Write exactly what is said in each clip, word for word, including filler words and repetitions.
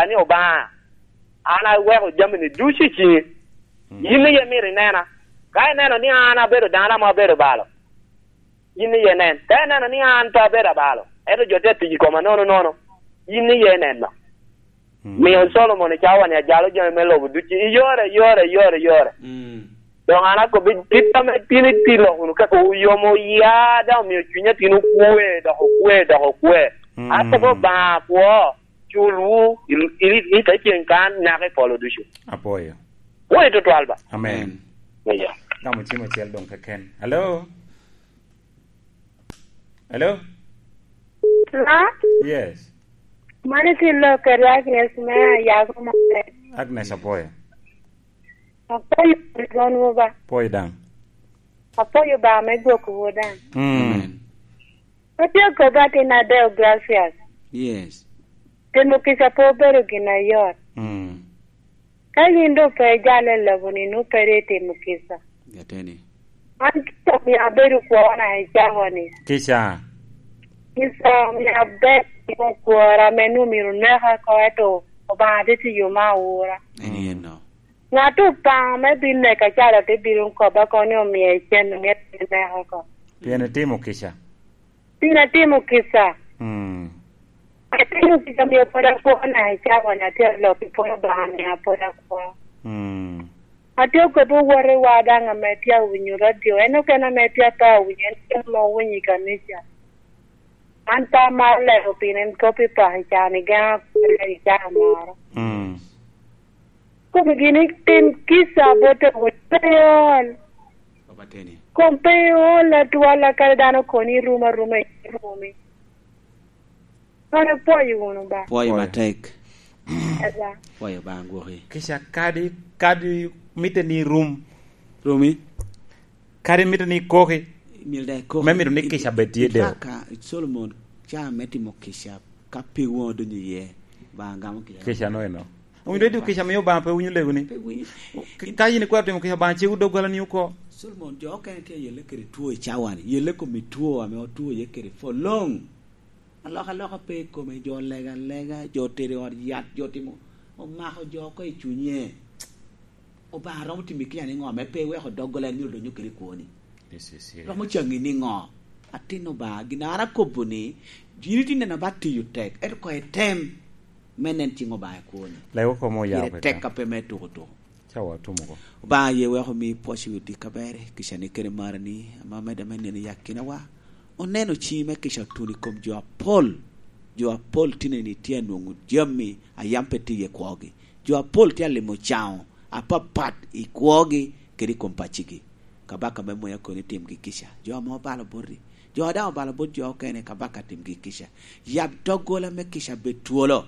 ni, "Obaŋa, an aweko jami-ni ducu i ciŋi. Mm. Yin iye myero inena. Ka ineno ni an abedo dano ame abedo balo, yin iye nen. Ka ineno ni an pe abedo abalo, ento jo tye tic i koma nono nono, yin iye neno." Mm. Mio Solomon i cawa-ni ajalo jami me lobo ducu i yore, i yore, i yore, i yore. Mm. Doŋ an akobbi, kit ame tin itilo wunu kaka oyomo ya, daŋ omio cuny a tin okwe, dok okwe, dok okwe. Mm. Akobo, "Obaŋa akwo, culwu, i, i, i te ceŋ kan, naka i polo ducu." Apwoyo. Pwoyo tutwal ba. Amen. Amen. Iya. Gamo cim acel doŋ keken. Hello? Hello? Hello? Yes. Mano tye Lokere Agnes me Ayago Maber. Agnes, apwoyo. Apwoyo Rwonwu ba. Pwoyo daŋ. Apwoyo ba me gwokwu daŋ. Mm. Amen. Atye akobo atin adeo, Gracias. Yes. Timo kica pe obedo gin ayot. Mm. Ka yin doŋ pe ijalo i lobo-ni, nwoŋo pe ri itimo kica. Ateni. An kica omio abedo kwona i cawa-ni. Kica. Kica omio aber timo kwora ame nwoŋo myero oneka oko, ento Obaŋa tye tiyo me awura. En eno. Ŋat Obaŋa me bin neka calo te bino kobba kono ni omie cen, omie neka oko. Pien itimo kica. Pien atimo kica. Mm. Atimo kica, omio pwod akwona i cawa-ni, atye alok i pwod Obaŋa, omio pwod akwo. Mm. Atye okobo owotewa daŋ ame tye awinyo radio, en okene ame tye ape awinyo, en okene ame owinyo i kanica. An pe amaro lego pien en kop i paka i caa-ni, gen akwena i caa moro. Mm. Kobo gini, tim kica bot awinyo, pe iol. Papa Teni. Kom pe iol atwal, kadi dano okoni irum aruma, irumi. Kono ipwoyo wunu ba. Pwoyo matek. Eba. Pwoyo ba, gwoki. Kica kadi, kadi mitte ni rum. Rumi? Kadi mitte ni koki. Myero daŋ ikoki. Me mito ni kica bed tye deo. In fact, ka Solomon, caa me timo kica, ka pe woŋo donyo iye, ba gamo kica. Kica no eno. Owinyo dwe kica miyo Obaŋa pe winyo lego ni. Pe winyo. Ka yin ikwero timo kica, Obaŋa cego doggola ni oko. Solomon, jo okene tye yelle kede two i cawa-ni. Yelle kom i two ame otwo iye kede for long. Alokaloka pe i kome, jo lega alega, jo tedo i ot yat, jo timo, omako jo oko i cunye. Obaŋa romo timi kica niŋo ame pe iweko doggola en myero odonyo kede i kwoni? This is serious. Romo caŋi niŋo? Atin Obaŋa, gin an akobo ni, yin itye neno ba tiyo tek, ento koŋ item me nen ciŋ Obaŋa i kwoni. Lego komo oya. Pire tek ka pe me tuko tuko. Ca watumo oko. Obaŋa ye wek omi pwoc i wi dik aber, kica ni kede marani, ame omedde me neno i akinawa. Oneno ciŋi me kica otuno i kom jo apol. Jo apol tineni tye anwoŋo jami a yam pe tye i kwogi. Jo apol tye alimo caŋo apapat i kwogi kede i kom paccigi. Kabaka me mony akobo ni timgi kica. Jo ame obalo boti, jo a daŋ obalo bot jo okene, kabaka timgi kica. Yab doggola me kica bed twolo.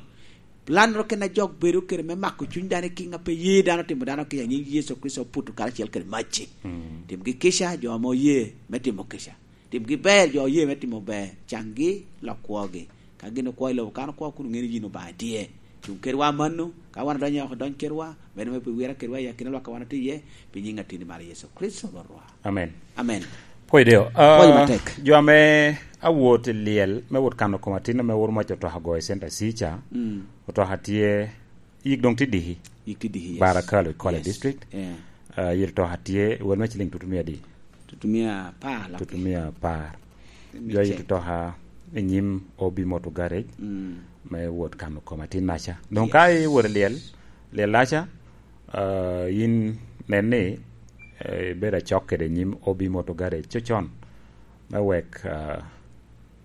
Lannoro kena jok bedo kede me mako cuny dano i kiŋ a pe ye dano timo dano kica, nyiŋ Yecu Kricito oputo karacel kede macci. Mm. Timgi kica jo ame oye me timo kica. Timgi ber jo oye me timo ber. Caŋgi lok kwogi. Ka gin okwo i lobo kan okwo kun oŋeo ni yin Obaŋa tye. Cuŋ kedwa mano, ka wan odonyo oko, dony kedwa, bedo me pi wira kedwa i akina lwak a wan otye iye, pi nyiŋ Atin i malo Yecu Kricito Rwotwa. Amen. Amen. Pwony deo. Pwony Ah, matek. Jo ame awot i lyel me wot kano kom atin ame woro mac otoka ogo i Center C ca, Mm. otoka tye, yik doŋ tye diki. Yik tye diki, yes. Barakalo i Kwale Yes. District. Yeah. Ah, yit otoka tye, wel me ciling tutumia di? Tutumia apar, Lucky. Tutumia apar. Tutumia Jo yit cek. otoka i nyim O B Motor Garage Mm. me wot kano kom atin naca. Doŋ ka Yes. iwot i lyel, lyel naca, ah, yin nen ni, eh, ibedo acok kede nyim O B Motor Garage cocon, me wek, ah,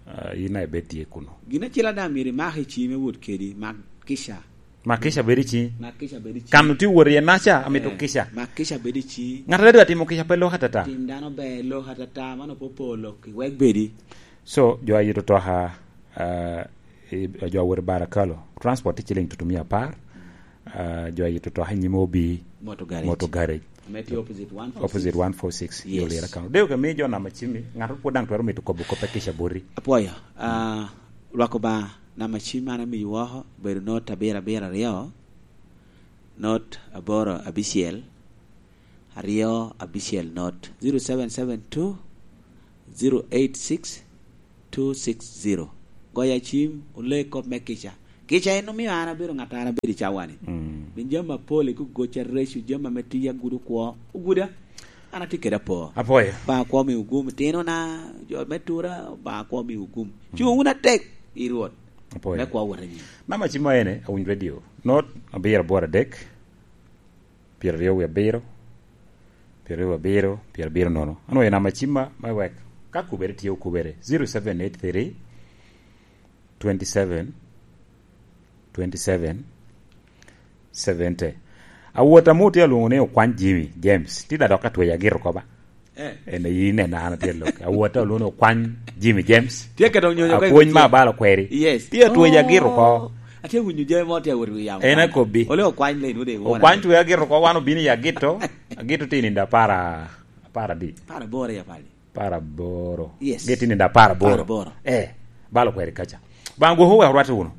ah, yin a ibed tye kuno. Gin acel a daŋ myero imak i ciŋi me wot kedi, mak kica. Mak kica bedo i ciŋi. Mak kica bedo i ciŋi. Kan otye wot iye naca, amito Eh, kica. Mak kica bedo i ciŋi. Ŋat a dwa timo kica pe lok atata. Tim dano ber, lok atata, mano pe opoo lok, wek bedi. So, jo a yito toka, ah, i, jo a wot i Barakalo, transport tye ciling tutumia apar. Ah, jo a yito toka i nyim O B Motor Garage. Motor Garage. Ame tye opposite one four six. Opposite one four six. Yes. Yo lira kano. Deo ke mi jo namba cimi, ŋato pwod daŋ twero mito kobo kop a kica boti. Apwoyo. Ah, lwak Obaŋa, namba cim an amiyi woko, obedo not abiro abiro aryo, not aboro abicel, aryo abicel not, zero seven seven two, zero eight six, two six zero. Goya cim, ole kop me kica. Gica en omio an abedo ŋat, an abedo i cawa-ni. Mm. Bin jami apol i gogoca, reco, jami ame tiya gudo kwo, oguda. An atye kede apor. Apwoyo. Ba kwo mi ogum tinona, jo me tura, ba kwo mi ogum. Mm. Cuŋ wunu atek i Rwot. Apwoyo. Me kwo wot anyim. Namba cim ma ene, Awiny Radio. Not abiro aboro adek, pyeraryo wie abiro, pyeraryo wie abiro, pyerabiro nono. Ano en namba cim ma, ma wek ka kubere tye okubere. Zero seven eight three, twenty seven, twenty seven, seventy. Awot amo tye alwoŋo ni Okwany Jimmy James. Tye da dok atweyo agito oko ba. Eh. En ayi nena an atye lok. Awot alwoŋo ni Okwany Jimmy James. Tye ka dok nyonyo ka Apwony ma abalo kweri. Yes. Tye atweyo agito oko. Oh. Atye winyo jami mo tye awot wi yamo. En akobbi. Ole Okwany le nude. Okwany tweyo agito oko, wan obino i agito. Agito tye nindo apar a-, apar adi? Apar aboro ya pali. Apar aboro. Yes. Gin tye nindo apar aboro. Apar aboro. Eh, balo kweri kaca. Baŋ gwoko wek orwatte wunu.